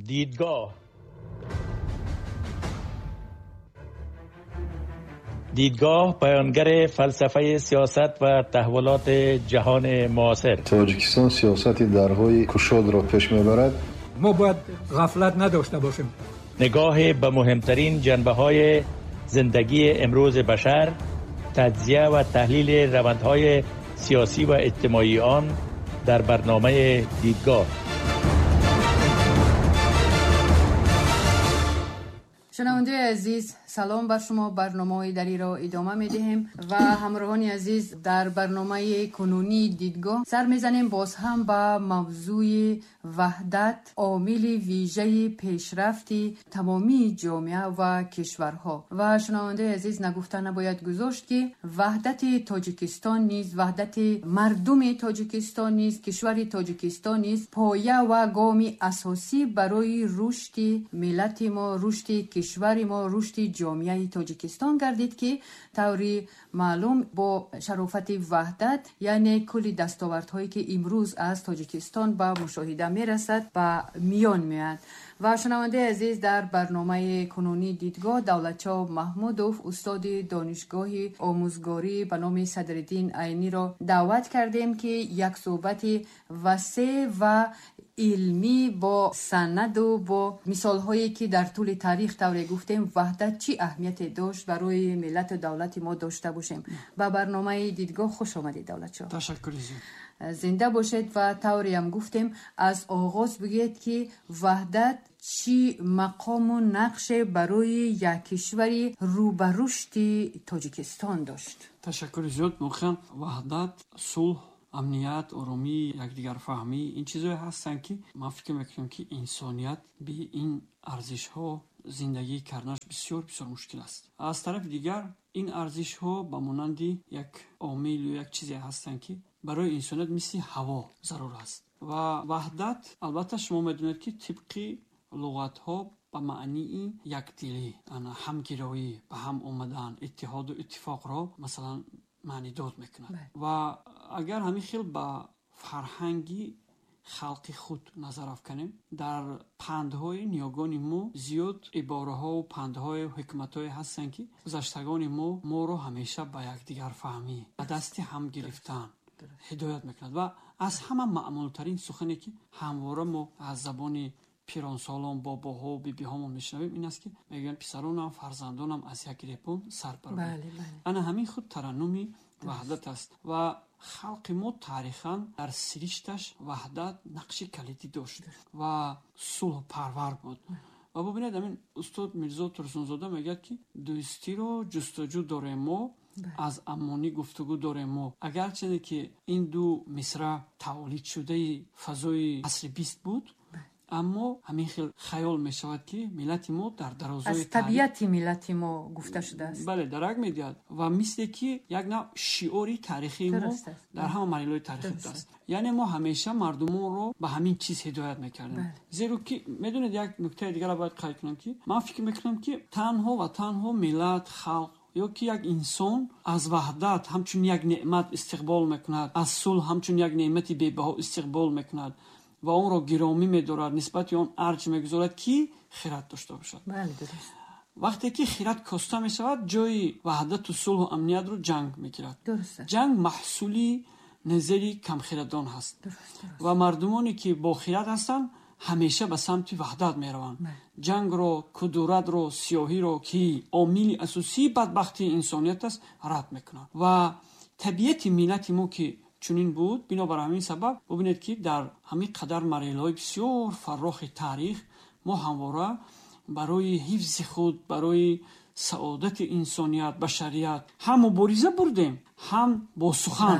دیدگاه. بیانگر فلسفه سیاست و تحولات جهان معاصر. تاجیکستان سیاست درهای کشاد را پیش میبرد. ما باید غفلت نداشته باشیم. نگاه به مهمترین جنبه های زندگی امروز بشر، تجزیه و تحلیل روندهای سیاسی و اجتماعی آن در برنامه دیدگاه. شنونده عزیز، سلام بر شما. برنامه دری را ادامه می دهیم و همراهان عزیز در برنامه کنونی دیدگاه سر میزنیم باز هم به موضوع وحدت، عامل ویژه پیشرفت تمامی جامعه و کشورها. و شنونده عزیز، نگفته نباید گذاشت که وحدت تاجیکستان نیز، وحدت مردم تاجیکستان نیز، کشور تاجیکستان نیز پایه و گام اساسی برای رشد ملت ما، رشد کشور ما، رشد جامعه تاجیکستان گردید که طوری معلوم با شرافت وحدت، یعنی کلی دستاوردهایی که امروز از تاجیکستان به مشاهده میرسد به میان میاد. و شنونده عزیز، در برنامه کنونی دیدگاه دولتشاه محمودوف، استاد دانشگاه آموزگاری به نام صدرالدین عینی را دعوت کردیم که یک صحبت وسیع و علمی با سند و با مثال هایی که در طول تاریخ طوری گفتیم وحدت چی اهمیت داشت برای ملت و دولت ما داشته باشیم. به برنامه دیدگاه خوش آمدید دولتشاه. تشکر زیاد. زنده باشید. و طوری هم گفتیم از آغاز بگید که وحدت چی مقام و نقش برای یک کشور رو به رشد تاجیکستان داشت. تشکر زیاد. واقعا وحدت، صلح، амният, оромӣ, якдигарфаҳмӣ ин чизҳое ҳастанд, ки ман фикр мекунам, ки инсоният бе ин арзишҳо зиндагӣ карданаш бисёр бисёр мушкил аст. Аз тарафи дигар, ин арзишҳо ба монанди як омил ё як чизе ҳастанд, ки барои инсоният мисли ҳаво зарур аст. Ва ваҳдат, албатта, шумо медонед, ки тибқи луғатҳо ба маънии якдилӣ, ҳамгироӣ, ба ҳам омадан, иттиҳоду иттифоқро масалан маънидод мекунад. Ва агар ҳамин хел ба фарҳанги халқи худ назар афканем, дар пандҳои ниёгони мо зиёд ибораҳову пандҳою ҳикматҳое ҳастанд, ки гузаштагони мо моро ҳамеша ба якдигарфаҳмӣ, ба дасти ҳам гирифтан ҳидоят мекунад. Ва аз ҳама маъмултарин сухане, ки ҳамвора мо аз забони пиронсолон, бобоҳо, бибиҳомон мешунавем, ин аст, ки мегӯянд: писаронам, фарзандонам, аз як репон сар бароред. Ана ҳамин худ тараннуми ваҳдат аст. Ва халқи мо таърихан дар сиришташ ваҳдат нақши калидӣ дошт ва сулҳпарвар буд. Ва бубинед, ҳамин устод Мирзо Турсунзода мегӯяд, ки дӯстиро ҷустуҷӯ дорем мо, аз амонӣ гуфтугӯ дорем мо. Агарчанде ки ин ду мисра тавлидшудаи фазои асри бист буд, аммо ҳамин хел хаёл мешавад, ки миллати мо дар дарозои аз табиати миллати мо гуфта шудааст. Бале, дарак медиҳад ва мисле ки як навъ шиори таърихии мо дар ҳама марҳилаҳои таърихӣ будааст. Яъне мо ҳамеша мардумонро ба ҳамин чиз ҳидоят мекардем, зеро ки медонед, як нуктаи дигарро бояд қайд кунам, ки ман фикр мекунам, ки танҳо ва танҳо миллат, халқ ё ки як инсон аз ваҳдат ҳамчун як неъмат истиқбол мекунад, аз сулҳ ҳамчун як неъмати бебаҳо истиқбол мекунад ва онро гиромӣ медорад, нисбати он арҷ мегузорад, ки хират дошта бошад. Вақте ки хират коста мешавад, ҷои ваҳдату сулҳу амниятро ҷанг мегирад. Ҷанг маҳсули назари камхирадон ҳаст ва мардумоне, ки бо хират ҳастанд, ҳамеша ба самти ваҳдат мераванд. Ҷангро, кудуратро, сиёҳиро, ки омили асосии бадбахтии инсоният аст, рад мекунанд. Ва табиати миллати мо ки чунин буд, бинобар ҳамин сабаб бубинед, ки дар ҳамин қадар марҳилаҳои бисёр фаррохи таърих мо ҳамвора барои ҳифзи худ, барои саодати инсоният, башарият ҳам мубориза бурдем, ҳам бо сухан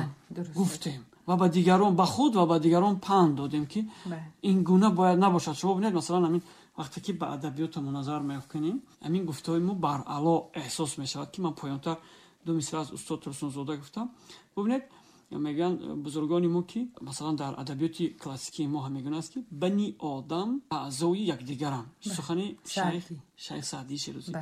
гуфтем ва ба дигарон, ба худ ва ба дигарон панд додем, ки ин гуна бояд набошад. Шумо бубинед, масалан, ҳамин вақте ки ба адабиётамо назар меафканем, ҳамин гуфтаҳои мо баръало эҳсос мешавад, ки ман поёнтар ду мисра аз устод Турсунзода гуфтам. Бубинед, мегӯянд бузургони мо, ки масалан дар адабиёти классикии мо ҳам мегӯянд аст, ки бани одам аъзои якдигаранд. Сухани шайх Саъдии Шерозӣ.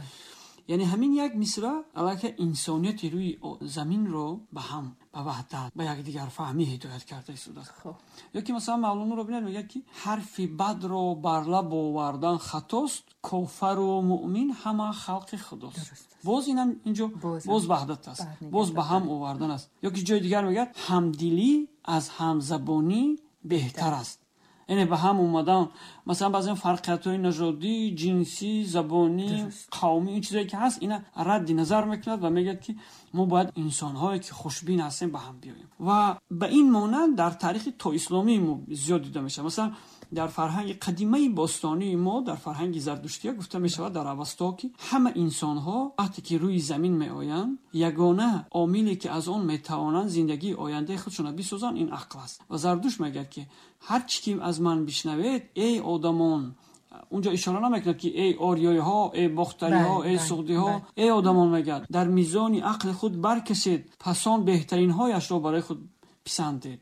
Яъне ҳамин як мисра аллакай инсонияти рӯи заминро ба ҳам, ба ваҳдат, ба якдигарфаҳмӣ ҳидоят карда истодааст. Ё ки масалан Мавлоноро бинед, мегӯяд ки ҳарфи бадро бар лаб овардан хатост, кофару муъмин ҳама халқи худост. Боз инам инҷо боз ваҳдат аст, боз ба ҳам овардан аст. Ё ки ҷои дигар мегӯяд ҳамдилӣ аз ҳамзабонӣ беҳтар аст. Яъне ба ҳам омадан, масалан баъзан фарқиятҳои нажодӣ, ҷинсӣ, забонӣ, қавмӣ, ин чизое ки ҳаст, ина радди назар мекунад ва мегӯяд ки мо бояд инсонҳое ки хушбин ҳастем ба ҳам биёем. Ва ба ин монанд дар таърихи тоисломии мо зиёд дида мешавад. Масалан дар фарҳанги қадимаи бостонии мо, дар фарҳанги зардуштия гуфта мешавад дар Авасто ки ҳама инсонҳо вақте ки рӯи замин меоянд, ягона омиле ки аз он метавонанд зиндагии ояндаи худшонро бисозанд, ин ақл аст. Ва Зардушт мегӯяд ки ҳар чӣ ки аз ман бишнавед, эй одамон, унҷо ишора намекунад ки эй ориёиҳо, эй бохтариҳо, эй суғдиҳо, эй одамон, мегӯяд дар мизони ақли худ баркашед, пас он беҳтаринҳояшро барои худ писандед.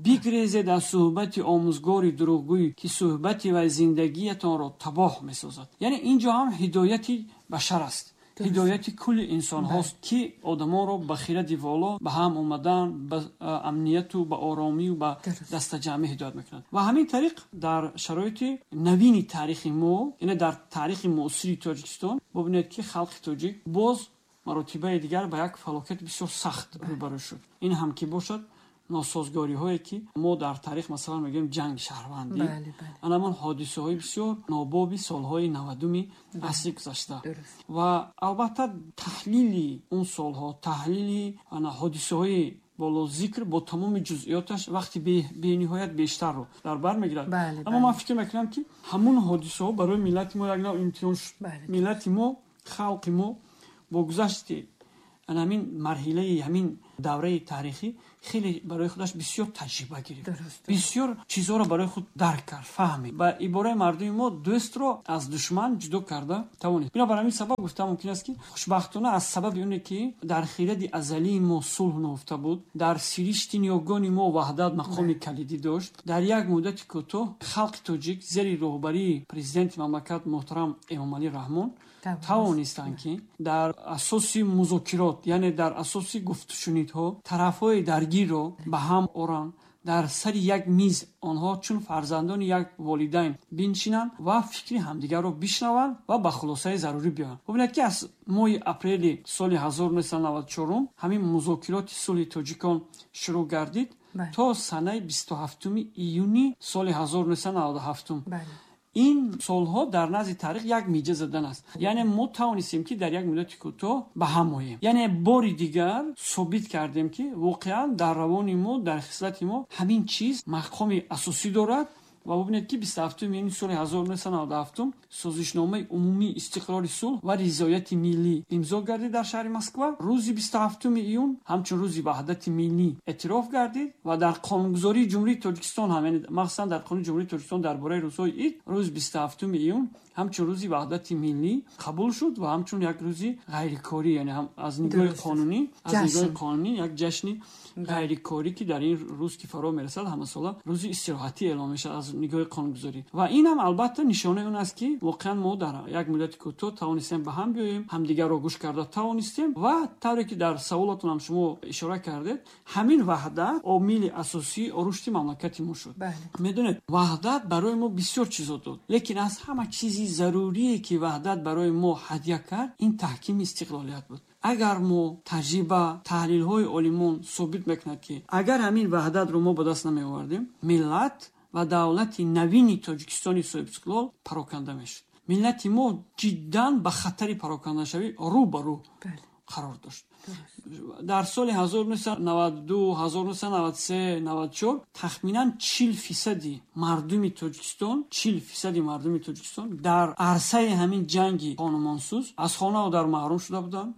Бигрезед аз суҳбати омӯзгори дурӯғгӯй ки суҳбати вай зиндагиятонро табоҳ месозад. Яъне инҷо ҳам ҳидояти башар аст, ҳидояти кулли инсонҳост ки одамонро ба хиради воло, ба ҳам омадан, ба амнияту ба оромию ба дастаҷамъӣ ҳидоят мекунад. Ва ҳамин тариқ дар шароити навини таърихи мо, яъне дар таърихи муосири Тоҷикистон, бубинед ки халқи тоҷик боз маротибаи дигар ба як фалокати бисёр сахт рӯбарӯ шуд. Ин ҳам ки бошад носозгориҳое ки мо дар таърих масалан мегӯем ҷанги шаҳрвандӣ, анамон ҳодисаҳои бисёр нобоби солҳои 90-уми асри гузашта. Ва албатта таҳлили он солҳо, таҳлили ҳодисаҳои боло зикр бо тамоми ҷузъиёташ вақти бениҳоят бештарро дар бар мегирад. Аммо ман фикр мекунам ки ҳамон ҳодисаҳо барои миллати мо як нав имтиҳон шуд. Миллати мо, халқи мо бо гузашти ҳамин марҳилаи ҳамин давраи таърихӣ хеле барои худаш бисёр таҷриба гирифт, бисёр чизҳоро барои худ дарк кард, фаҳмид. Ба ибораи мардуми мо дӯстро аз душман ҷудо карда тавонист. Бинобар ҳамин сабаб гуфта мумкин аст ки хушбахтона аз сабаби оне ки дар хиради азалии мо сулҳ нуҳуфта буд, дар сиришти ниёгони мо ваҳдат мақоми калидӣ дошт, дар як муддати кӯтоҳ халқи тоҷик зери роҳбарии президенти мамлакат муҳтарам Эмомалӣ Раҳмон тавонистанд ки дар асоси музокирот, яъне дар асоси гуфтушунидҳо тарафҳои даргирро ба ҳам оранд, дар сари як миз онҳо чун фарзандони як волидайн биншинанд ва фикри ҳамдигарро бишнаванд ва ба хулосаи зарурӣ биёянд. Бубинед ки аз моҳи апрели соли 1994 ҳамин музокироти сулҳи тоҷикон шурӯъ гардид то санаи 27 июни соли 1997. Ин солҳо дар назди таърих як миҷа задан аст. Яъне мо тавонистем ки дар як муддати кӯтоҳ ба ҳам оем. Яъне бори дигар собит кардем ки воқеан дар равони мо, дар хислати мо ҳамин чиз мақоми асосӣ дорад. Ва бубинед ки 27 июни соли 1997 созишномаи умумии истиқрори сулҳ ва ризояти миллӣ имзо гардид дар шаҳри Москва. Рӯзи 27 июн ҳамчун рӯзи ваҳдати миллӣ эътироф гардид ва дар қонунгузории Ҷумҳурии Тоҷикистон ҳам, яъне махсусан дар қонуни Ҷумҳурии Тоҷикистон дар бораи рӯзҳои ид, рӯзи 27 июн ҳамчун рӯзи ваҳдати миллӣ қабул шуд ва ҳамчун як рӯзи ғайрикорӣ, яъне ҳам аз нигоҳи қонунӣ, аз нигоҳи қонунӣ як ҷашни ғайрикорӣ ки дар ин рӯз ки фаро мерасад ҳамасола рӯзи истироҳатӣ эълон мешавад аз нигоҳи қонунгузорӣ. Ва ин ҳам албатта нишонаи он аст ки воқеан мо дар як муддати кӯтоҳ тавонистем ба ҳам биёем, ҳамдигарро гӯш карда тавонистем ва тавре ки дар саволатон ҳам шумо ишора кардед, ҳамин ваҳдат омили асосии рушди мамлакати мо шуд. Медонед, ваҳдат барои мо бисёр чизо дод, лекин аз ҳама чизи зарурие ки ваҳдат барои мо ҳадя кард, ин таҳкими истиқлолият буд. Агар мо таҷриба, таҳлилҳои олимон собит мекунад ки агар ҳамин ваҳдатро мо ба даст намеовардем, миллат ва давлати навини Тоҷикистони соҳибистиқлол пароканда мешуд. Миллати мо ҷиддан ба хатари парокандашавӣ рӯ ба рӯ қарор дошт. Дар соли 1992, 1993, 94 тахминан 40% мардуми Тоҷикистон, 40% мардуми Тоҷикистон дар арсаи ҳамин ҷанги хонумонсӯз аз хонаву дар маҳрум шуда буданд,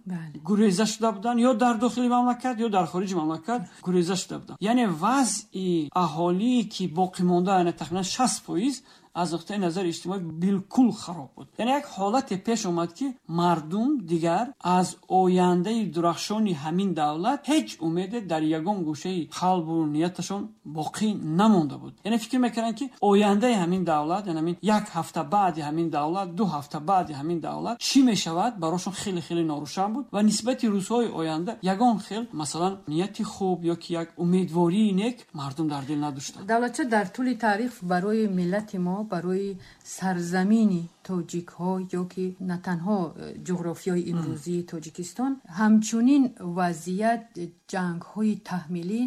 гуреза шуда буданд, ё дар дохили мамлакат ё дар хориҷи мамлакат гуреза шуда буданд. Яъне вазъи аҳолие ки боқӣ монда, яъне тахминан 60% аз нуқтаи назари иҷтимоӣ билкул хароб буд. Яъне як ҳолате пеш омад ки мардум дигар аз ояндаи дурахшони ҳамин давлат ҳеҷ умеде дар ягон гӯшаи қалбу нияташон боқӣ намонда буд. Яъне фикр мекарданд, ки ояндаи ҳамин давлат, яъне ҳамин як ҳафта баъди ҳамин давлат, 2 ҳафта баъди ҳамин давлат чӣ мешавад, барошон хеле хеле норӯшан буд ва нисбати рӯзҳои оянда ягон хел, масалан, нияти хуб ё ки як умедвории нек мардум дар дил надоштанд. Давлатча, дар тӯли таърих барои миллати мо, барои сарзамини тоҷикҳо ё ки на танҳо ҷуғрофиёи имрӯзии Тоҷикистон, ҳамчунин вазъият ҷангҳои таҳмилӣ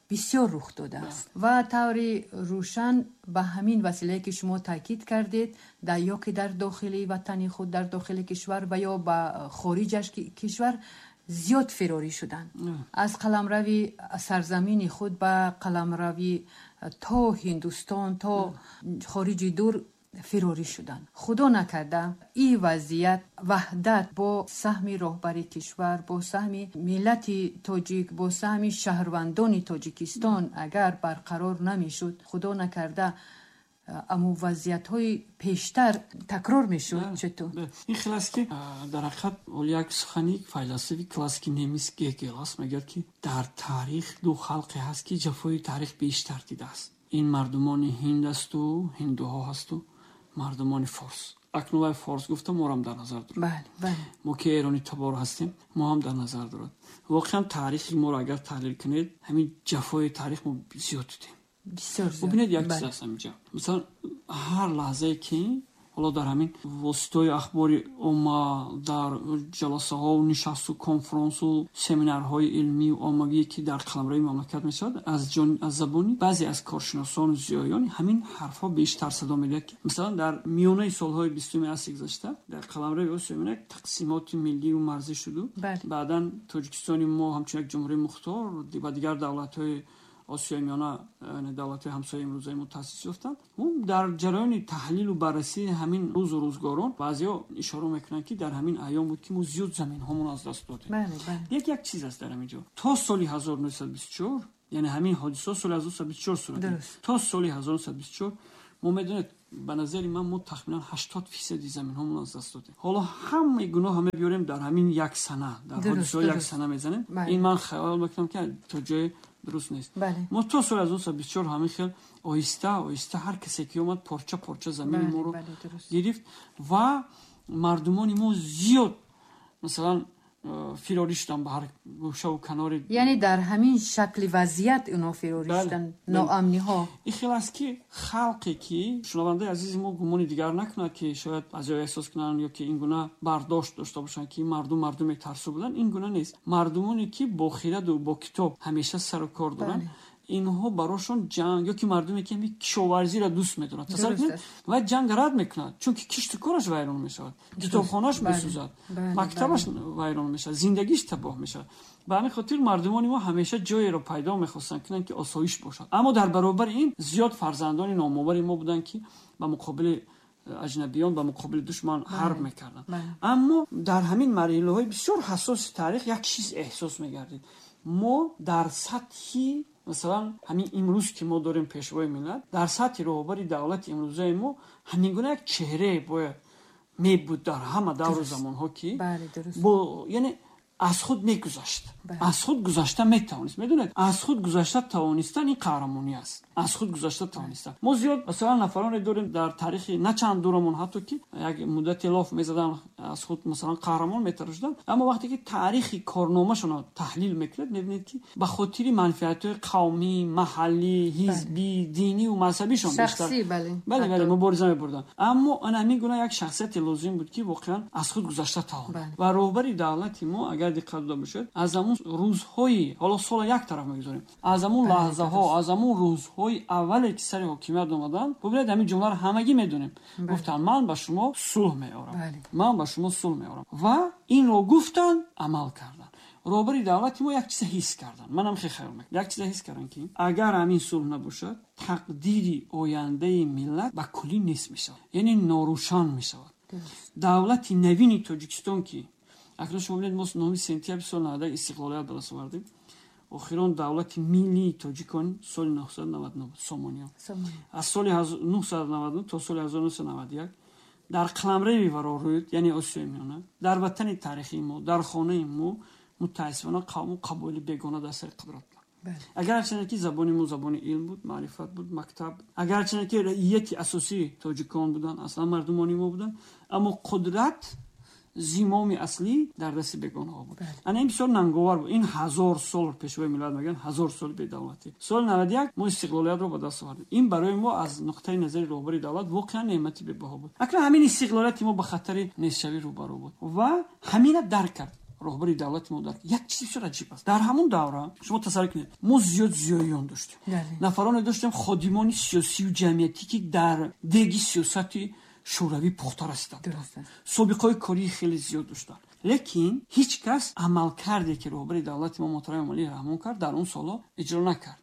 бисёр рух додааст ва таври рӯшан ба ҳамин василае ки шумо таъкид кардед, дар ё ки дар дохили ватани худ, дар дохили кишвар ва ё ба хориҷаш кишвар зиёд фирорӣ шуданд. Аз қаламрави сарзамини худ ба қаламрави то Ҳиндустон, то хориҷи дур фирорӣ шуданд. Худо накарда ин вазъият ваҳдат бо саҳми роҳбари кишвар, бо саҳми миллати тоҷик, бо саҳми шаҳрвандони Тоҷикистон агар барқарор намешуд, худо накарда аммо вазъиятҳои пештар такрор мешуд. Четур? Ин хел аст, ки дар ҳақиқат як сухани файласуфи классики немис Гегел аст, мегӯяд, ки дар таърих ду халқе ҳаст, ки ҷафои таърих бештар дидааст. Ин мардумони ҳинд асту ҳиндуҳо ҳасту мардумони форс. Акнун вай форс гуфта морам дар назар дорад. Мо ки эрони табор ҳастем, мо ҳам дар назар дорад. Воқеан таърихи моро агар таҳлил кунед, ҳамин ҷафои таърих мо зиёд дидем. Бисёр зиёд. Бубинед, як чиз аст ҳаминҷа. Масалан, ҳар лаҳзае ки ҳоло дар ҳамин воситаҳои ахбори омма, дар ҷаласаҳо, нишасту конфронсу семинарҳои илмию оммавие ки дар қаламрави мамлакат мешавад, аз забони баъзе аз коршиносону зиёён ҳамин ҳарфҳо бештар садо медиҳад, ки масалан дар миёнаи солҳои 20-уми асри гузашта дар қаламрави Осиёи Миёна тақсимоти миллию марзӣ шуду баъдан Тоҷикистони мо ҳамчун як ҷумҳурии мухтор ва дигар давлатҳои Осиёи Миёна, яъне давлатҳои ҳамсояи имрӯзаи мо таъсис ёфтанд. Дар ҷараёни таҳлилу баррасии ҳамин рӯзу рӯзгорон баъзеҳо ишора мекунанд, ки дар ҳамин айём буд, ки мо зиёд заминҳомон аз даст додем. Як чиз аст дар ҳамин ҷо. То соли 1924, яъне ҳамин ҳодиса соли 1924 сурат гирифт. То соли 1924 мо медонед, ба назари ман мо тахминан 80% заминҳомон аз даст додем. Ҳоло ҳамаи гуноҳ мебиёрем дар ҳамин як сана, дар ҳодисаҳои як сана мезанем. Ин ман хаёл мекунам, ки то ҷое дуруст нест. Мо то соли 1924 ҳамин хел оҳиста оҳиста ҳар касе ки омад порча порча замини моро гирифт ва мардумони мо зиёд, масалан, фирорӣ шуданд ба ҳар гӯшаву канори. Яъне дар ҳамин шакли вазъият ино фирорӣ шуданд, ноамниҳо. Ин хел аст, ки халқе ки шунавандаи азизи мо гумони дигар накунад, ки шояд баъзеҳо эҳсос кунанд ё ки ин гуна бардошт дошта бошанд, ки мардум мардуме тарсу буданд. Ин гуна нест. Мардумоне ки бо хираду бо китоб ҳамеша сару кор доранд, инҳо барошон ҷанг ё ки мардуме ки кишоварзиро дӯст медоранд, тасаввур кунед, ва ҷанг рад мекунад, чунки кишту кораш вайрон мешавад, китобхонааш месӯзад, мактабаш вайрон мешавад, зиндагиш табоҳ мешавад. Ба ҳамин хотир мардумони мо ҳамеша ҷоеро пайдо мехостанд кунанд, ки осоиш бошад. Аммо дар баробари ин зиёд фарзандони номовари мо буданд, ки ба муқобили аҷнабиён, ба муқобили душман ҳарб мекарданд. Аммо дар ҳамин марҳилаҳои бисёр ҳассоси таърих як чиз эҳсос мегардид. Мо дар сатҳи, масалан, ҳамин имрӯз ки мо дорем пешвои миллат, дар сатҳи роҳбари давлати имрӯзаи мо ҳамин гуна як чеҳрае бояд мебуд дар ҳама давру замонҳо, ки бо, яъне аз худ мегузашт, аз худ гузашта метавонист. Медонед, аз худ гузашта тавонистан ин қаҳрамонӣ аст. Аз худ гузашта тавонистан. Мо зиёд, масалан, нафароне дорем дар таърихи на чанд дурамон, ҳатто ки як муддате лоф мезадан, аз худ, масалан, қаҳрамон метарошиданд, аммо вақте ки таърихи корномашонро таҳлил мекунед, мебинед, ки ба хотири манфиатҳои қавмӣ, маҳаллӣ, ҳизбӣ, динию мазҳабишон бештар бале мубориза мебурданд. Аммо ана ҳамин гуна як шахсияте лозим буд, ки воқеан аз худ гузашта тавонад. Ва роҳбари давлати мо, агар диққат дода бошед, аз ҳамун рӯзҳои, ҳоло сола як тараф мегузорем, аз ҳамун лаҳзаҳо, аз ҳамун рӯзҳои аввале ки сари ҳокимият омаданд, бубинед, ҳамин ҷумларо ҳамагӣ медонем, гуфтанд: ман ба шумо сулҳ меорам, ман ба шумо сулҳ меорам. Ва инро гуфтанд, амал карданд. Роҳбари давлати мо як чиза ҳис карданд, манам хеле хаёл мекунам, як чиза ҳис карданд, ки агар ҳамин сулҳ набошад, тақдири ояндаи миллат ба куллӣ нест мешавад, яъне норӯшан мешавад. Давлати навини Тоҷикистон, ки акнун шумо бинед, мо 9 сентябри соли 91 истиқлолият ба даст овардем, охирон давлати миллии тоҷикон соли 999 Сомониён, аз соли 999 то соли 1991 дар қаламрави варорӯд, яъне Осиёи Миёна, дар ватани таърихии мо, дар хонаи мо Мутаассифона қавму қабоили бегона дар сари қудрат буданд. Агарчанде ки забони мо забони илм буд, маърифат буд, мактаб, агарчанде ки раияти асосии тоҷикон буданд, аслан мардумони мо буданд, аммо қудрат, зимоми аслӣ дар дасти бегонаҳо буд. Ана ин бисёр нанговар буд. Ин 1000 сол, пешвои миллат мегӯянд, 1000 соли бедавлатӣ. Соли 91 мо истиқлолиятро ба даст овардем. Ин барои мо аз нуқтаи назари роҳбари давлат воқеан неъмати бебаҳо буд. Акнун ҳамин истиқлолияти мо ба хатари нестшавӣ рӯбарӯ буд ва ҳамина дарк кард роҳбари давлати мо. Дарк як чизи бисёр аҷиб аст. Дар ҳамон давра шумо тасаввур кунед, мо зиёд зиёиён доштем, нафароне доштем, ходимони сиёсию ҷамъиятӣ, ки дар деги сиёсати шӯравӣ пухта расиданд, собиқаҳои кории хеле зиёд доштанд, лекин ҳеҷ кас амалкарде, ки роҳбари давлати мо муҳтарам Эмомалӣ Раҳмон кард, дар он солҳо иҷро накард,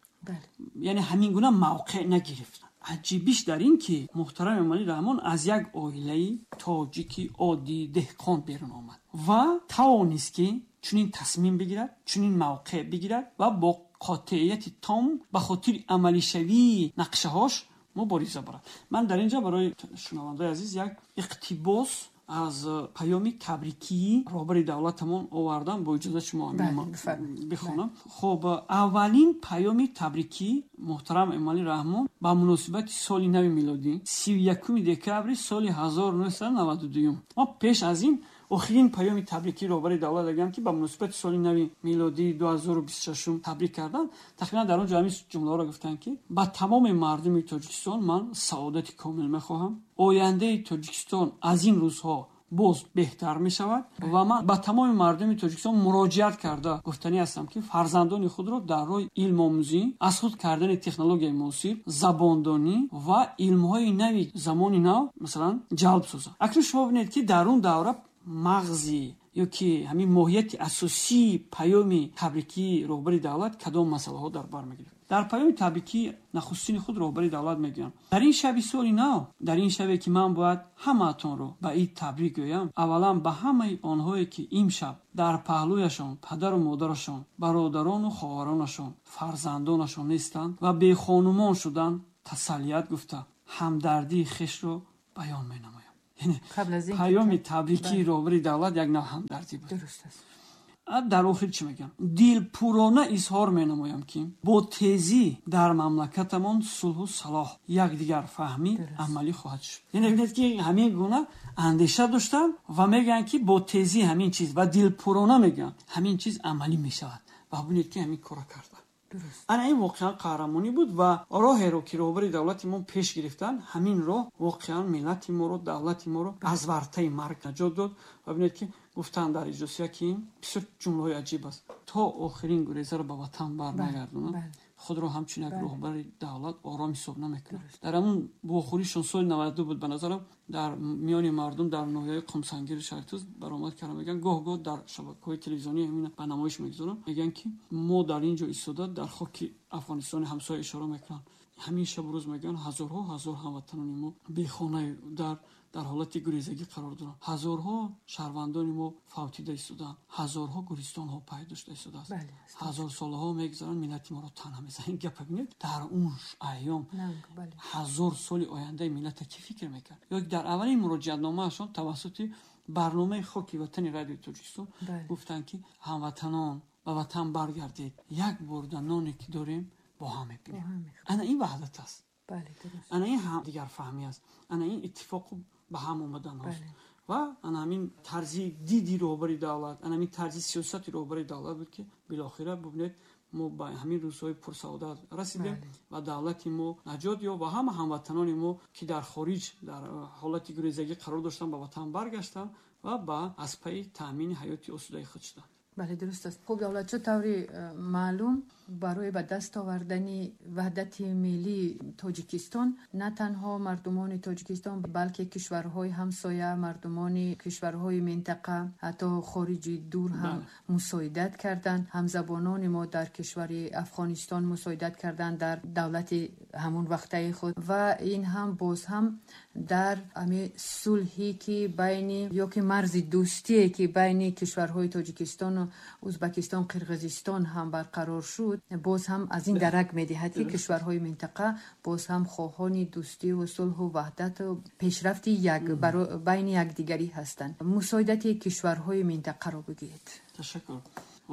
яъне ҳамин гуна мавқеъ нагирифт. Аҷибиш дар ин, ки муҳтарам Эмомалӣ Раҳмон аз як оилаи тоҷики оддии деҳқон берун омад ва тавонист, ки чунин тасмим бигирад, чунин мавқеъ бигирад ва бо қотеияти том ба хотири амалишавии нақшаҳош мубориза барад. Ман дар ин ҷо барои шунавандаои азиз як иқтибос аз паёми табрикии роҳбари давлатамон овардам. Бо иҷозат шумо бихонам. Хоб, аввалин паёми табрикӣ муҳтарам Эмомалӣ Раҳмон ба муносибати соли нави милодӣ, 31 декабри соли 1992. Мо пеш аз ин охирин паёми табрикии роҳбари давлат агам, ки ба муносибати соли нави милодии 2026 табрик карданд, тақрибан дар он ҷо ҳамин ҷумлаҳоро гуфтанд, ки ба тамоми мардуми Тоҷикистон ман саодати комил мехоҳам, ояндаи Тоҷикистон аз ин рӯзҳо боз беҳтар мешавад ва ман ба тамоми мардуми Тоҷикистон муроҷиат карда гуфтанӣ ҳастам, ки фарзандони худро дар роҳи илмомӯзӣ, аз худ кардани технологияи муосир, забондонӣ ва илмҳои нави замони нав, масалан, ҷалб созанд. Акнун шумо бинед, ки дар он давра мағзи ё ки ҳамин моҳияти асосии паёми табрикии роҳбари давлат кадом масъалаҳо дар бар мегирифт. Дар паёми табрикии нахустини худ роҳбари давлат мегӯянд: «Дар ин шаби соли нав, дар ин шабе, ки ман бояд ҳамаатонро ба ид табрик гӯям, аввалан ба ҳамаи онҳое, ки имшаб дар паҳлӯяшон падару модарашон, бародарону хоҳаронашон, фарзандонашон нестанд ва бехонумон шуданд, тасаллият гуфта, ҳамдардии хешро баён менамоям». Паёми табрикии роҳбари давлат як нав ҳамдардӣ буд. Дар охир чӣ мегӯям? Дилпурона изҳор менамоям, ки бо тезӣ дар мамлакатамон сулҳу салоҳ, якдигарфаҳмӣ амалӣ хоҳад шуд. Яъне бинед, ки ҳамин гуна андеша доштанд ва мегӯянд, ки бо тезӣ ҳамин чиз, ва дилпурона мегӯянд, ҳамин чиз амалӣ мешавад. Ва бинед, ки ҳамин кора карданд. Ана ин воқеан қаҳрамонӣ буд ва роҳеро, ки роҳбари давлати мо пеш гирифтанд, ҳамин роҳ воқеан миллати моро, давлати моро аз вартаи марг наҷот дод. Ва бинед, ки гуфтанд дар иҷлосия, ки бисёр ҷумлаҳои аҷиб аст: то охирин гурезаро ба ватан барнагардонанд, худро ҳамчун як роҳбари давлат ором ҳисоб намекунад. Дар ҳамун вохӯришон соли 92 буд, ба назарам, дар миёни мардум дар ноҳияи Қумсангири шаҳри баромад карда мегӯянд, гоҳ гоҳ дар шабакаҳои телевизионӣ ҳамина ба намоиш мегузоранд, мегӯянд, ки мо дар ин ҷо истода, дар хоки Афғонистони ҳамсоя ишора мекунанд, ҳамин шабу рӯз, мегӯянд, ҳазорҳо ҳазор ҳамватанони мо бехонаи дар ҳолати гурезагӣ қарор доранд, ҳазорҳо шаҳрвандони мо фавтида истодаанд, ҳазорҳо гуристонҳо пайдо шуда истодааст, ҳазор солаҳо мегузаранд, миллати моро танҳа мезананд. Ин гапа бинед, дар он айём 1000 соли ояндаи миллата кӣ фикр мекард? Ё дар аввалин муроҷиатномаашон тавассути барномаи Хоки ватани Радиои Тоҷикистон гуфтанд, ки ҳамватанон, ба ватан баргардед, як бурда ноне, ки дорем, бо ҳам мебинем. Ана ин ваҳдат аст, ана ин ҳамдигарфаҳмӣ аст, ана ин иттифоқу ба ҳам омаданҳост ва ана ҳамин тарзи диди роҳбари давлат, ана ҳамин тарзи сиёсати роҳбари давлат буд, ки билохира, бубинед, мо ба ҳамин рӯзҳои пурсаодат расидем ва давлати мо наҷот ёфт ва ҳама ҳамватанони мо, ки дар хориҷ дар ҳолати гурезагӣ қарор доштанд, ба ватан баргаштанд ва ба аз пайи таъмини ҳаёти осудаи худ шуданд. Бале, дуруст аст. Хуб, Давлатшо, таври маълум, барои ба даст овардани ваҳдати миллии Тоҷикистон на танҳо мардумони Тоҷикистон, балки кишварҳои ҳамсоя, мардумони кишварҳои минтақа, ҳатто хориҷи дур ҳам мусоидат карданд. Ҳамзабонони мо дар кишвари Афғонистон мусоидат карданд дар давлати ҳамон вақтаи худ ва ин ҳам боз ҳам дар ҳамин сулҳе, ки байни ё ки марзи дӯстие, ки байни кишварҳои Тоҷикистону Узбакистон, Қирғизистон ҳам барқарор шуд, боз ҳам аз ин дарак медиҳад, ки кишварҳои минтақа боз ҳам хоҳони дӯстиву сулҳу ваҳдату пешрафти байни якдигарӣ ҳастанд. Мусоидати кишварҳои минтақаро бигӯед. Ташаккур.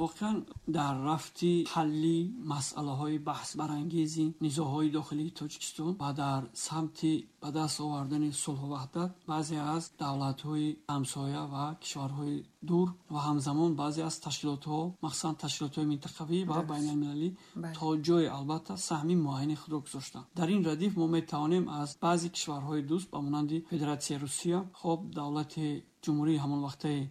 Воқеан дар рафти ҳалли масъалаҳои баҳсбарангези низоъҳои дохилии Тоҷикистон ва дар самти ба даст овардани сулҳу ваҳдат баъзе аз давлатҳои ҳамсоя ва кишварҳои дур ва ҳамзамон баъзе аз ташкилотҳо, махсусан ташкилотҳои минтақавӣ ва байналмилалӣ то ҷое албатта саҳми муайяни худро гузоштанд. Дар ин радиф мо метавонем аз баъзе кишварҳои дӯст ба монанди Федератсияи Русия, хоб давлати ҷумҳурии ҳамон вақтаи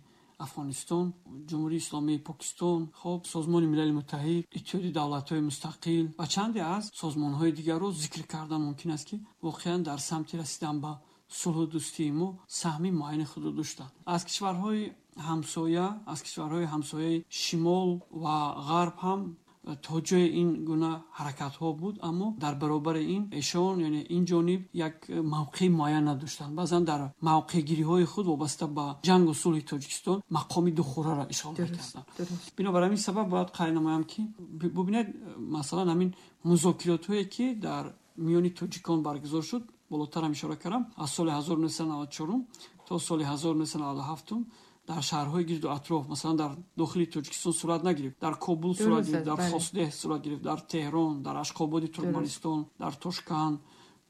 Афғонистон, Ҷумҳурии Исломии Покистон, хоб Созмони Милали Муттаҳид, Иттиҳоди Давлатҳои Мустақил ва чанде аз созмонҳои дигарро зикр кардан мумкин аст, ки воқеан дар самти расидан ба сулҳу дӯстии мо саҳми муайяни худро доштанд. Аз кишварҳои ҳамсоя, аз кишварҳои ҳамсояи шимол ва ғарб ҳам то ҷои ин гуна ҳаракатҳо буд, аммо дар баробари ин эшон, яъне ин ҷониб як мавқеи муайян надоштанд. Баъзан дар мавқеъгириҳои худ вобаста ба ҷангу сулҳи Тоҷикистон мақоми духӯраро ишғол мекарданд. Бинобар ҳамин сабаб бояд қайд намоям, ки бубинед, масалан ҳамин музокиротҳое ки дар миёни тоҷикон баргузор шуд, болотарам ишора кардам, аз соли 1994 то соли 1997 дар шаҳрҳои гирду атроф, масалан дар дохили Тоҷикистон сурат нагирифт, дар Кобул сурат гирифт, дар Хосдеҳ сурат гирифт, дар Теҳрон, дар Ашқободи Туркманистон, дар Тошканд,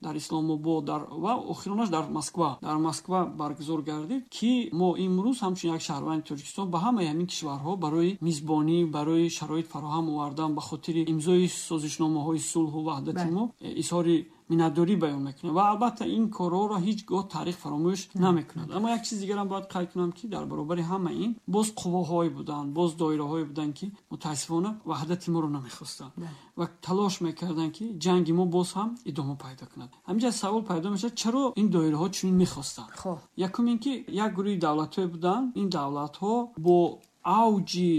дар Исломобод ва охиронаш дар Москва. Дар Москва баргузор гардид, ки мо имрӯз ҳамчун як шаҳрванди Тоҷикистон ба ҳамаи ҳамин кишварҳо барои мизбонӣ, барои шароит фароҳам овардан ба хотири имзои созишномаҳои сулҳу ваҳдати мо изҳори миннатдорӣ баён мекунем ва албатта ин корҳоро ҳеҷ гоҳ таърих фаромӯш намекунад. Аммо як чиз дигарам бояд қайд кунам, ки дар баробари ҳама ин боз қувваҳое буданд, боз доираҳое буданд, ки мутаассифона ваҳдати моро намехостанд ва талош мекарданд, ки ҷанги мо боз ҳам идома пайдо кунад. Ҳаминҷа савол пайдо мешавад, чаро ин доираҳо чунин мехостанд? Якум ин ки як гурӯҳи давлатҳое буданд, ин давлатҳо бо авҷи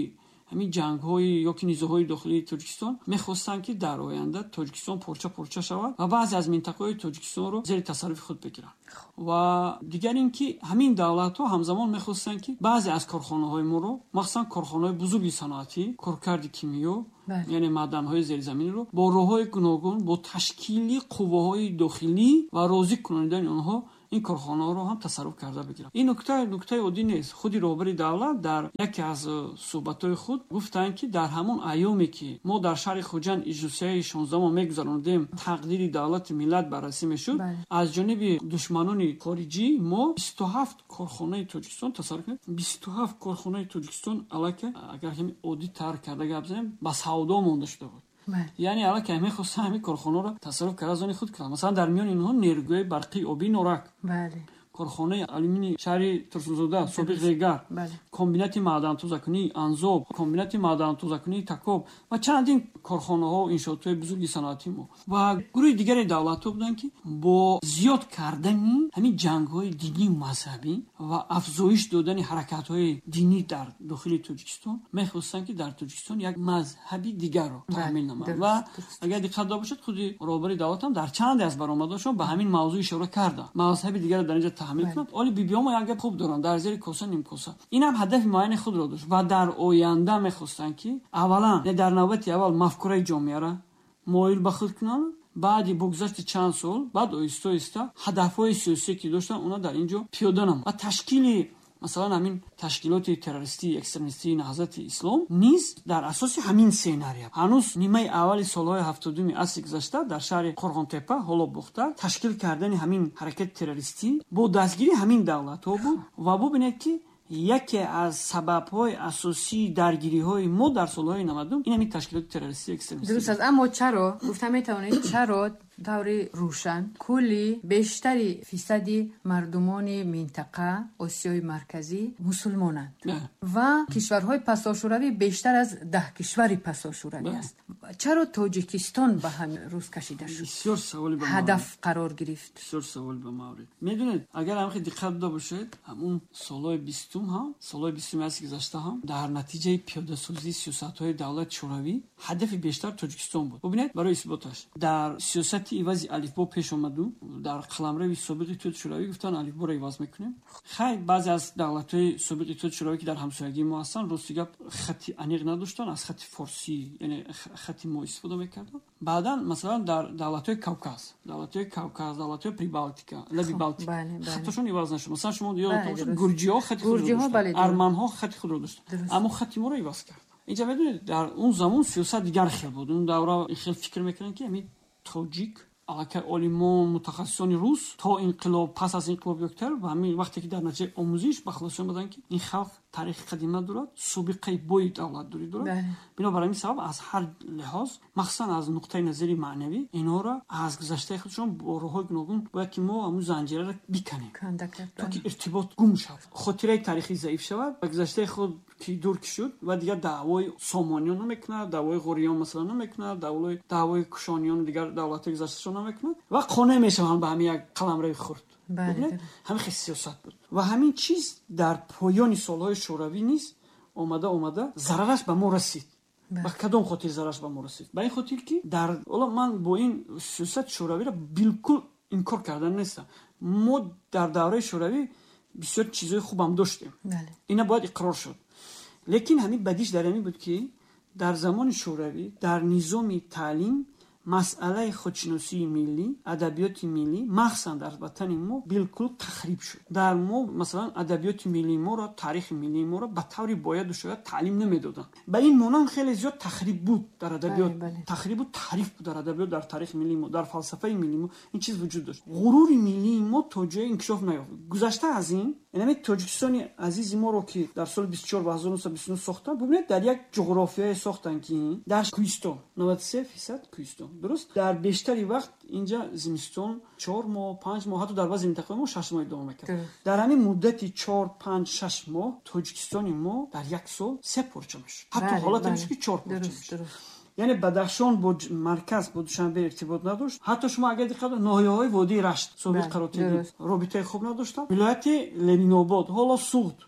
ҳамин ҷангҳои ё ки низоъҳои дохилии Тоҷикистон мехостанд, ки дар оянда Тоҷикистон порча-порча шавад ва баъзе аз минтақаҳои Тоҷикистонро зери тасарруфи худ бигиранд. Ва дигар ин ки ҳамин давлатҳо ҳамзамон мехостанд, ки баъзе аз корхонаҳои моро, махсусан корхонаҳои бузурги саноатӣ, коркарди кимиё, яъне маъданҳои зеризаминиро бо роҳҳои гуногун, бо ташкили қувваҳои дохилӣ ва розӣ кунонидани онҳо ин корхонаҳоро ҳам тасарруф карда бигиранд. Ин нуктаи оддӣ нест. Худи роҳбари давлат дар яке аз суҳбатҳои худ гуфтанд, ки дар ҳамон айёме ки мо дар шаҳри Хуҷанд иҷлосияи 16 мегузарондем, тақдири давлати миллат баррасӣ мешуд, аз ҷониби душманони хориҷӣ мо 27 корхонаи Тоҷикистон тасарруф кардем. 27 корхонаи Тоҷикистон аллакай, агар ҳамин оддӣ тар карда гап занем, ба савдо монда шуда буд. Яъне аллакай мехостанд ҳамин корхонаро тасарруф карда аз они худ кунанд. Масалан дар миёни инҳо нерӯгоҳи барқии обии Норак, корхонаи алюминии шаҳри Турсунзода, собиқ Регар, комбинати маъдантозакунии Анзоб, комбинати маъдантозакунии Такоб ва чандин корхонаҳо, иншоотҳои бузурги саноатии мо. Ва гурӯҳи дигари давлатҳо буданд, ки бо зиёд кардани ҳамин ҷангҳои динию мазҳабӣ ва афзоиш додани ҳаракатҳои динӣ дар дохили Тоҷикистон мехостанд, ки дар Тоҷикистон як мазҳаби дигарро таҳмил намоянд. Ва агар диққат дода бошед, худи роҳбари давлат ҳам дар чанде аз баромадҳошон ба ҳамин мавзӯъ ишора карданд. Мазҳаби дигарро дар инҷа таҳмил мекунанд. Оли бибиҳо мо як гап хуб доранд, дар зери коса нимкоса. Ин ҳам ҳадафи муайяни худро дошт ва дар оянда мехостанд, ки аввалан, дар навбати аввал мафкураи ҷомеаро моил ба худ кунанд, баъди бо гузашти чанд сол, баъд оҳиста-оҳиста ҳадафҳои сиёсие ки доштанд, онҳо дар ин ҷо пиёда намуданд ва ташкили масалан ҳамин ташкилоти террористии экстремистии Наҳзати Ислом низ дар асоси ҳамин сценария. Ҳанӯз нимаи аввали солҳои 70-уми асри гузашта дар шаҳри Қорғонтеппа, ҳоло Бохтар, ташкил кардани ҳамин ҳаракати террористӣ бо дастгирии ҳамин давлатҳо буд ва бубинед, ки яке аз сабабҳои асосии даргириҳои мо дар солҳои 90 ин ҳамин ташкилоти террористии экстремистӣ. Дуруст аст, аммо чаро гуфта метавонед, чаро таври рӯшан кулли бештари фисади мардумони минтақа Осиёи Марказӣ мусулмонанд ва кишварҳои пасошӯравӣ бештар аз 10 кишвари пасошӯравӣ аст? Чаро Тоҷикистон ба ҳамин рӯз кашида шуд? Бисёр саволи ба маврид. Ҳадаф қарор гирифт. Бисёр саволи ба маврид. Медонед, агар ҳам диққат дода бошед, ҳамун солҳои 20 ҳам, солҳои 20 асри гузашта ҳам дар натиҷаи пиёдасозии сиёсатҳои давлати Шӯравӣ ҳадафи бештар Тоҷикистон буд. Бубинед, барои исботаш дар сиёсати ивази алифбо пеш омаду дар қаламрави собиқи Иттиҳоди Шӯравӣ гуфтанд алифборо иваз мекунем. Хай, баъзе аз давлатҳои собиқи Иттиҳоди Шӯравӣ, ки дар ҳамсоягии мо ҳастанд, рости гап хати аниқ надоштанд, аз хати форсӣ, яъне хати мо истифода мекарданд. Баъдан масалан дар давлатҳои Кавказ, давлатҳои Прибалтика, лаби Балтика хаташон иваз нашуд. Масалан шумо ёдатон бошад, гурҷиҳо хати худро доштанд, арманҳо хати худро доштанд, аммо хати моро иваз карданд. Инҷа медонед, дар он замон сиёсат дигар хел буд. Он давра хел фикр мекунанд, ки ҳамин тоҷик аллакай олимон, мутахассисони рус то инқилоб, пас аз инқилоб ёктар ва ҳамин вақте ки дар натиҷаи омӯзиш ба хулоса омаданд, ки ин халқ таърихи қадима дорад, собиқаи бои давлатдорӣ дорад. Бинобар ҳамин сабаб аз ҳар лиҳоз, махсусан аз нуқтаи назари маънавӣ, инҳоро аз гузаштаи худшон бо роҳҳои гуногун бояд ки мо ҳамун занҷираро биканем, то ки иртибот гум шавад, хотираи таърихӣ заиф шавад ва гузаштаи худ ки дур ки шуд ва дигар даъвои сомониён намекунад, даъвои ғуриён масалан намекунад, даъвои кушониён дигар давлатҳои гузашташон намекунад ва қонеъ мешаванд ба ҳамин як қаламрави хурд. Ҳамин хел сиёсат буд ва ҳамин чиз дар поёни солҳои шӯравӣ низ омада зарараш ба мо расид. Ба кадом хотир зарараш ба мо расид? Ба ин хотир ки дар ҳоло ман бо ин сиёсати шӯравиро билкул инкор кардан нестам. Мо дар давраи шӯравӣ бисёр чизҳои хубам доштем, ина бояд иқрор шуд. Лекин ҳамин бадиш дар ҳамин буд, ки дар замони шӯравӣ дар низоми таълим масъалаи худшиносии миллӣ, адабиёти миллӣ, махсусан дар ватани мо билкул тахриб шуд. Дар мо масалан адабиёти миллии моро, таърихи миллии моро ба таври бояду шояд таълим намедоданд. Ба ин монанд хеле зиёд тахриб буд дар адабиёт, тахрибу таҳриф буд дар адабиёт, дар таърихи миллии мо, дар фалсафаи миллии мо ин чиз вуҷуд дошт. Ғурури миллии мо то ҷое инкишоф наёфт. Гузашта аз ин, ҳамин Тоҷикистони азизи моро, ки дар соли 24 ва 1929 сохтанд, бубинед, дар як ҷуғрофияе сохтанд, ки дар кӯҳистон 93% кӯҳистон, дуруст, дар бештари вақт инҷа зимистон 4 моҳ, 5 моҳ, ҳатто дар баъзе минтақаҳои мо 6 моҳ идома мекард. Дар ҳамин муддати 4, 5, 6 моҳ Тоҷикистони мо дар як сол се порча мешуд, ҳатто ҳолате мешуд, ки 4 порча мешуд. Яъне Бадахшон бо марказ, бо Душанбе иртибот надошт. Ҳатто шумо агар диққат, ноҳияҳои водии Рашт, собиқ Қаротегин, робитаи хуб надоштанд. Вилояти Ленинобод, ҳоло Суғд,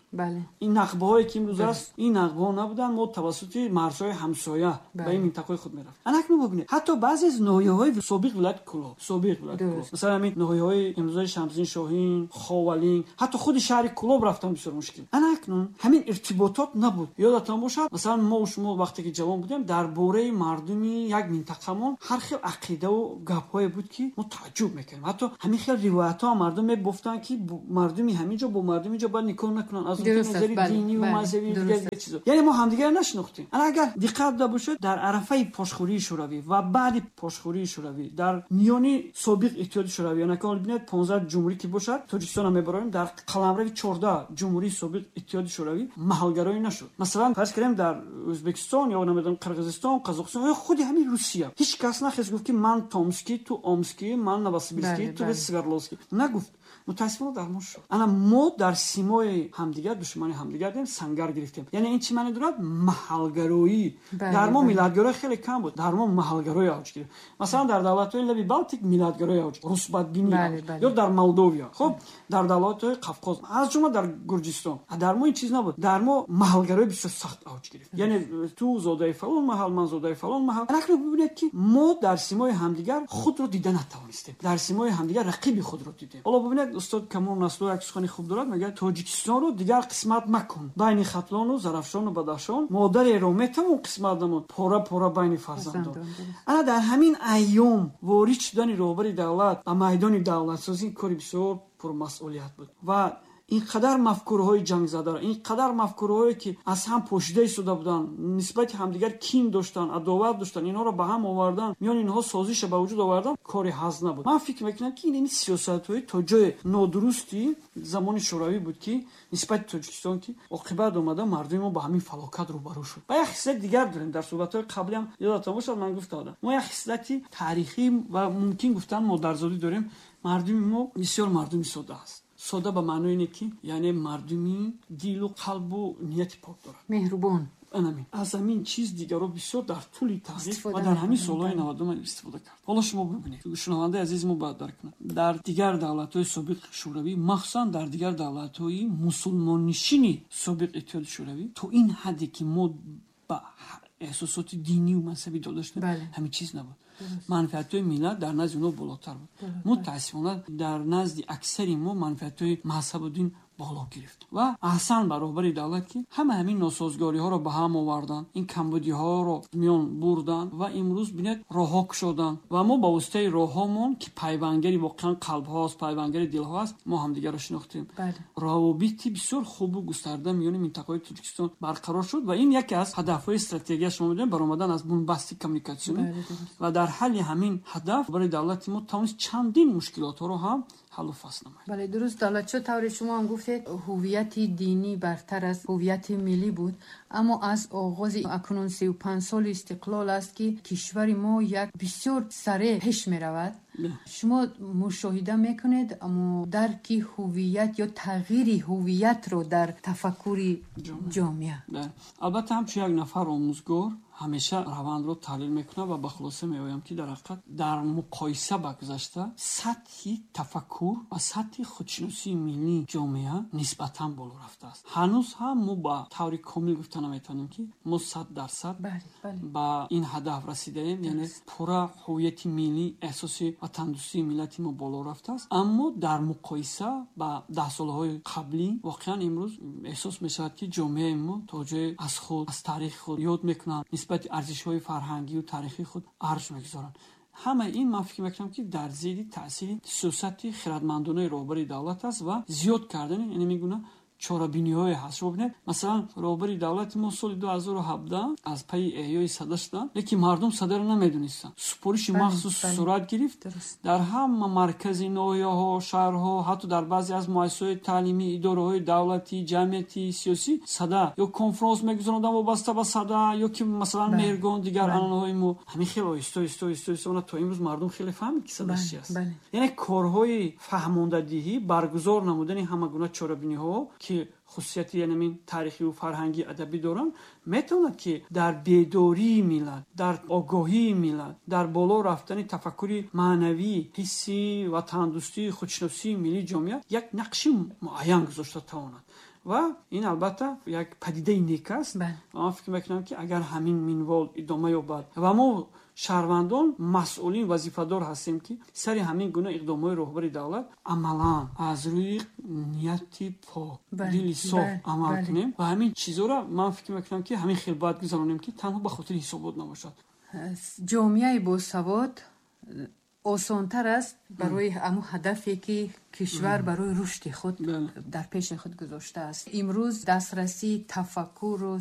ин нақбаҳое ки имрӯз аст, ин нақбаҳо набуданд. Мо тавассути марзҳои ҳамсоя ба ин минтақаҳои худ мерафтем. Ана акнун бубинед, ҳатто баъзе аз ноҳияҳои собиқ вилояти Кӯлоб, собиқ вилояти Кӯлоб, масалан ҳамин ноҳияҳои имрӯзаи Шамсиддин Шоҳин, Ховалинг, ҳатто худи шаҳри Кӯлоб рафтан бисёр мушкил. Ана акнун ҳамин иртиботот набуд. Ёдатон бошад, масалан мо шумо вақте ки ҷавон будем, дар бораи мардуми як минтақамон ҳар хел ақидаву гапҳое буд, ки мо тааҷҷуб мекардем. Ҳатто ҳамин хел ривоятҳо мардум мебофтанд, ки мардуми ҳамин ҷо бо мардуми ҷо бояд никоҳ накунанд аз назари динӣ ва мазҳабӣ, дигар чизо. Яъне мо ҳамдигарро нашинохтем. Ана агар диққат дода бошед, дар арафаи пошхӯрии шӯравӣ ва баъди пошхӯрии шӯравӣ дар миёни собиқ Иттиҳоди Шӯравӣ, яъне ки бинед, 15 ҷумҳурӣ ки бошад, Тоҷикистонро мебароем, дар қаламрави 14 ҷумҳурии собиқ Иттиҳоди Шӯравӣ маҳалгароӣ нашуд. Масалан фарз кардем, дар Ӯзбекистон ё намедонам Қирғизистон, Қазоқистон ё худи ҳамин Русия ҳеҷ кас нахест гуфт, ки ман Томский, ту Омский, ман Новосибирский, ту Свердловский. Нагуфт. Мутаассифона дар мо шуд. Ана мо дар симои ҳамдигар душмани ҳамдигар дем, сангар гирифтем. Яъне ин чӣ маъне дорад? Маҳалгароӣ. Дар мо миллатгароӣ хеле кам буд, дар мо маҳалгароӣ авҷ гирифт. Масалан дар давлатҳои лаби Балтик миллатгароӣ авҷ, русбадбинӣ, ё дар Молдовия, хуб, дар давлатҳои Қавқоз, аз ҷумла дар Гурҷистон. Дар мо ин чиз набуд. Дар мо маҳалгароӣ бисёр сахт авҷ гирифт. Яъне ту зодаи фалон маҳал, ман зодаи фалон маҳал. Акнун бибинед, ки мо дар симои ҳамдигар худро дида натавонистем, дар симои ҳамдигар рақиби худро дидем. Ҳоло бибинед, устод Камол Насрулло як сухани хуб дорад, мегӯяд: Тоҷикистонро дигар қисмат макун байни Хатлону Зарафшону Бадахшон, модареро метавон қисмат намуд пора пора байни фарзандон. Ана дар ҳамин айём ворид шудани роҳбари давлат ба майдони давлатсозӣ кори бисёр пурмасъулият буд ва ин қадар мафкураҳои ҷангзадаро, ин қадар мафкураҳое ки аз ҳам пошида истода буданд, нисбати ҳамдигар кин доштанд, адоват доштанд, инҳоро ба ҳам овардан, миёни инҳо созиша ба вуҷуд овардан кори ҳаз набуд. Ман фикр мекунам, ки ин сиёсатҳои то ҷои нодурусти замони шӯравӣ буд, ки нисбати Тоҷикистон, ки оқибат омада мардуми мо ба ҳамин фалокат рӯбарӯ шуд. Ва як хислати дигар дорем. Дар суҳбатҳои қаблиам ёдатон бошад, ман гуфта будам, мо як хислати таърихӣ ва мумкин гуфтан модарзодӣ дорем. Мардуми мо бисёр мардуми сода аст. Сода ба маънои ине ки яъне мардуми дилу қалбу нияти пок дорад, меҳрубон. Анамин аз ҳамин чиз дигаро бисёр дар тӯли таърих ва дар ҳамин солҳои 90 истифода кард. Ҳоло шумо бибинед, шунавандаи азизи мо бояд дарк кунад, дар дигар давлатҳои собиқ шӯравӣ, махсусан дар дигар давлатҳои мусулмоннишини собиқ Иттиҳоди Шӯравӣ, то ин ҳадде ки мо ба эҳсосоти динию мазҳабӣ дода шудем, ҳамин чиз набуд. Манфиатҳои миллат дар назди онҳо болотар буд. Мутаассифона дар назди аксари мо манфиатҳои мазҳабу дин Боло гирифт. Ва аҳсан ба роҳбари давлат, ки ҳама ҳамин носозгориҳоро ба ҳам оварданд, ин камбудиҳоро миён бурданд ва имрӯз, бинед, роҳҳо кушоданд ва мо ба воситаи роҳҳомон, ки пайвангари воқеан қалбҳоаст, пайвангари дилҳоаст, мо ҳамдигарро шинохтем. Равобити бисёр хубу густарда миёни минтақаҳои Тоҷикистон барқарор шуд ва ин яке аз ҳадафҳои стратегия, шумо медонед, баромадан аз бунбасти коммуникатсионӣ ва дар ҳалли ҳамин ҳадаф барои давлати мо тавонист чандин мушкилотҳоро ҳам ҳаллу фасл намояд. Бале, дуруст, Давлатшо, тавре шумо ҳам гуфтед, ҳуввияти динӣ бартар аз ҳуввияти миллӣ буд, аммо аз оғози акнун 35 соли истиқлол аст, ки кишвари мо як бисёр сареъ пеш меравад. Шумо мушоҳида мекунед, аммо дарки ҳуввият ё тағйири ҳуввиятро дар тафаккури ҷомеа? Албатта, ҳамчун як нафар омӯзгор ҳамеша равандро таҳлил мекунам ва ба хулоса меоям, ки дар ҳақиқат дар муқоиса ба гузашта сатҳи тафаккур ва сатҳи худшиносии миллии ҷомеа нисбатан боло рафтааст. Ҳанӯз ҳам мо ба таври комил гуфта наметавонем, ки мо 100% ба ин ҳадаф расидаем, яъне пурра ҳуввияти миллӣ, эҳсоси ватандӯстии миллати мо боло рафтааст, аммо дар муқоиса ба даҳсолаҳои қаблӣ воқеан имрӯз эҳсос мешавад, ки ҷомеаи мо то ҷое аз худ, аз таърихи худ ёд мекунанд, нисбати арзишҳои фарҳангию таърихии худ арҷ мегузоранд. Ҳамаи ин, ман фикр мекунам, ки дар зери таъсири сиёсати хирадмандонаи роҳбари давлат аст ва зиёд кардани ин гуна чорабиниҳое ҳаст. Шумо бинед, масалан, роҳбари давлати мо соли 2017 аз пайи эҳёи сада шуданд, лекин мардум садаро намедонистанд. Супориши махсус сурат гирифт, дар ҳама маркази ноҳияҳо, шаҳрҳо, ҳатто дар баъзе аз муассисаҳои таълимӣ, идораҳои давлатӣ, ҷамъиятӣ, сиёсӣ сада ё конфронс мегузаронданд вобаста ба сада ё ки, масалан, меҳргон, дигар анъанаҳои мо. Ҳамин хеле оҳиста, оҳиста, оҳиста, оҳиста то имрӯз мардум хеле фаҳмид, ки сада чи аст. Яъне корҳои фаҳмондадиҳӣ, баргузор намудани ҳама гуна чорабиниҳо, ки хусусияти янамин таърихию фарҳангӣ, адабӣ доранд, метавонад, ки дар бедории миллат, дар огоҳии миллат, дар боло рафтани тафаккури маънавӣ, ҳисси ватандӯстии, худшиносии миллии ҷомеа як нақши муайян гузошта тавонад. Ва ин, албатта, як падидаи нек аст. Ман фикр мекунам, ки агар ҳамин минвол идома ёбад ва мо шаҳрвандон масъулин, вазифадор ҳастем, ки сари ҳамин гуна иқдомҳои роҳбари давлат амалан аз рӯи нияти пок, дили соф амал кунем ва ҳамин чизҳоро, ман фикр мекунам, ки ҳамин хел бояд гузаронем, ки танҳо ба хотири ҳисобот набошад. Ҷомеаи босавод осонтар аст барои ҳамун ҳадафе, ки кишвар барои рушди худ дар пеши худ гузоштааст. Имрӯз дастрасии тафаккуру